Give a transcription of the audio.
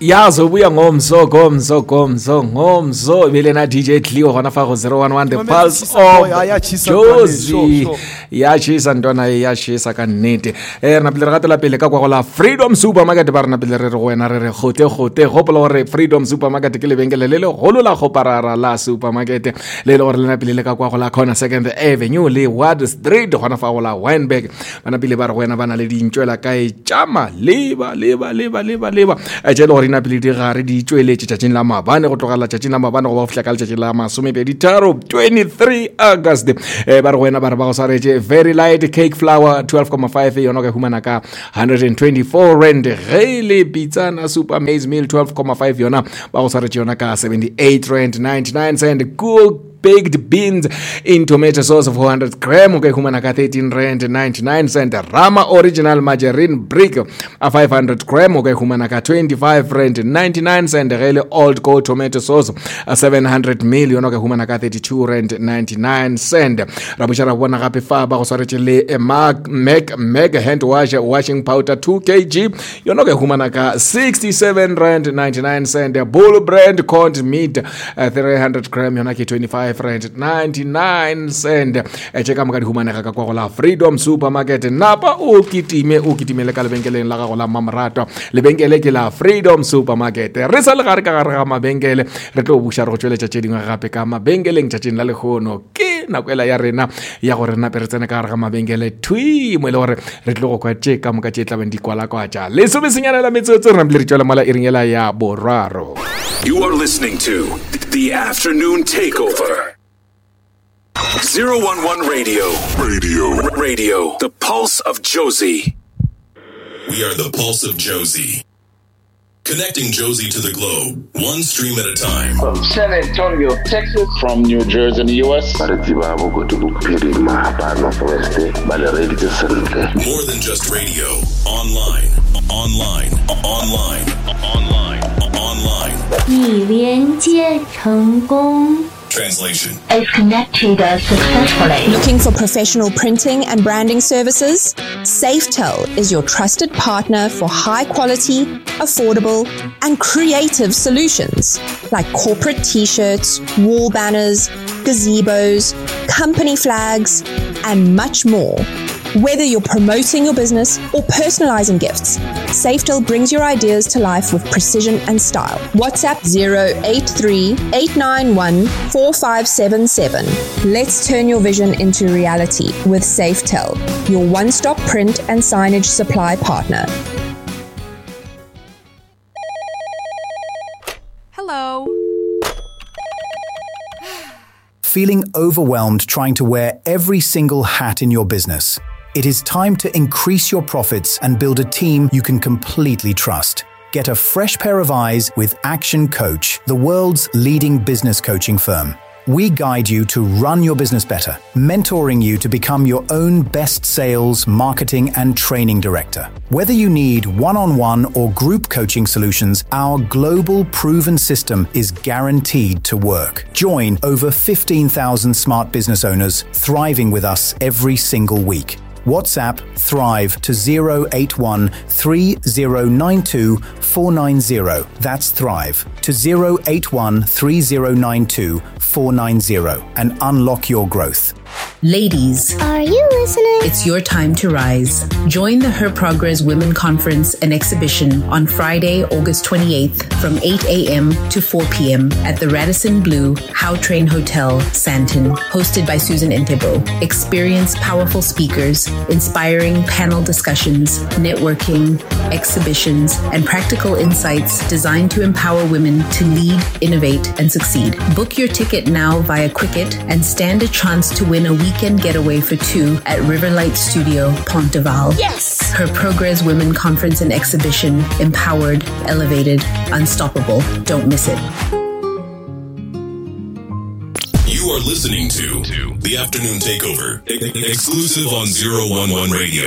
Yazobuya ngomso gomso gomso ngomso e be le na DJ Cleo gona fa go 011 the pulse of Jozi. Ya tšhisa ntwana e ya tšhisa ka nnete. Eh re napile re gatela pele ka kwa go la Freedom Supermarket ba re napile re re go wena re re gote gote gopola gore Freedom Supermarket ke lebenkele le legolo la kgoparara la supermarket le e le gore le napile le ka kwa go la Corner Second Avenue le Ward Street gona fa go la Wynberg. Ba napile ba re go wena ba na le dintšwela kae tša maleba leba leba leba leba eh, tše e le gore di napile di gare di tšweletše tšatšing la maabane go tlogela tšatšing la maabane go ba go fihla ka letšatši la masomepeditharo 23 August. Eh, ba re go wena ba re ba go swaretše very light cake flour 12,5 yona o ka e humana ka 124 rand. Ge e le pitsana super maize meal 12,5 yona ba go swaretše yona ka 78 rand 99 cent. Cool baked beans in tomato sauce 400 gram o ka e humana ka 13 rand 99 cent. Rama original margarine brick a 500 gram o ka e humana ka 25 rand 99 cent. Ge e le old gold tomato sauce a 700 mil yona o ka e humana ka 32 rand 99 cent. Ra buša ra bona gape fa ba go swaretše le eh, Mac Mac Mac hand wash washing powder 2 kg yona o ka e humana ka 67 rand 99 cent. Bull brand corned meat 300 gram yona ke 25 rand 99 cent. Eh, tše ka moka di humanega ka kwa go la Freedom Supermarket. Napa o kitime o kitimele ka lebenkeleng la gago la mmamoratwa. Lebenkele ke la Freedom Supermarket. Re sa le gare ka gare ga mabenkele re tlo buša re go tšweletša tše dingwe gape ka mabenkeleng tšatšing la lehono. Ke nako ela ya rena ya gore nape re tsene ka gare ga mabenkele thwi mo e le gore re tlo go kwa tše ka moka tše tlabeng di kwalakwatša. Lesomesenyana la metsotso re napile re tšwela mola iring ela ya boraro. You are listening to The Afternoon Takeover. 011 Radio. Radio. Radio. The Pulse of Jozi. We are the Pulse of Jozi. Connecting Jozi to the globe, one stream at a time. From San Antonio, Texas. From New Jersey in the US. Ba re tseba Bokone Bophirima ba North West ba le reeditše sentle. More than just radio, online, online, online, online, online. 已连接成功。 Translation. Is connected successfully. Looking for professional printing and branding services? Safetel is your trusted partner for high quality, affordable, and creative solutions like corporate t-shirts, wall banners, gazebos, company flags, and much more. Whether you're promoting your business or personalizing gifts, Safetel brings your ideas to life with precision and style. WhatsApp 083 891 4577. Let's turn your vision into reality with Safetel, your one stop print and signage supply partner. Hello. Feeling overwhelmed trying to wear every single hat in your business? It is time to increase your profits and build a team you can completely trust. Get a fresh pair of eyes with ActionCOACH, the world's leading business coaching firm. We guide you to run your business better, mentoring you to become your own best sales, marketing, and training director. Whether you need one-on-one or group coaching solutions, our global proven system is guaranteed to work. Join over 15,000 smart business owners thriving with us every single week. WhatsApp Thrive to 081 3092 490. That's Thrive to 081 3092 490 and unlock your growth. Ladies, are you listening? It's your time to rise. Join the Her Progress Women Conference and Exhibition on Friday, August 28th from 8 a.m. to 4 p.m. at the Radisson Blu Gautrain Hotel, Sandton, hosted by Susan Ntebo. Experience powerful speakers, inspiring panel discussions, networking, exhibitions, and practical insights designed to empower women to lead, innovate, and succeed. Book your ticket now via Quicket and stand a chance to win a weekend getaway for two at Riverlight Studio, Ponteval. Yes! Her Progress Women Conference and Exhibition, Empowered, Elevated, Unstoppable. Don't miss it. You are listening to The Afternoon Takeover, exclusive on 011 Radio.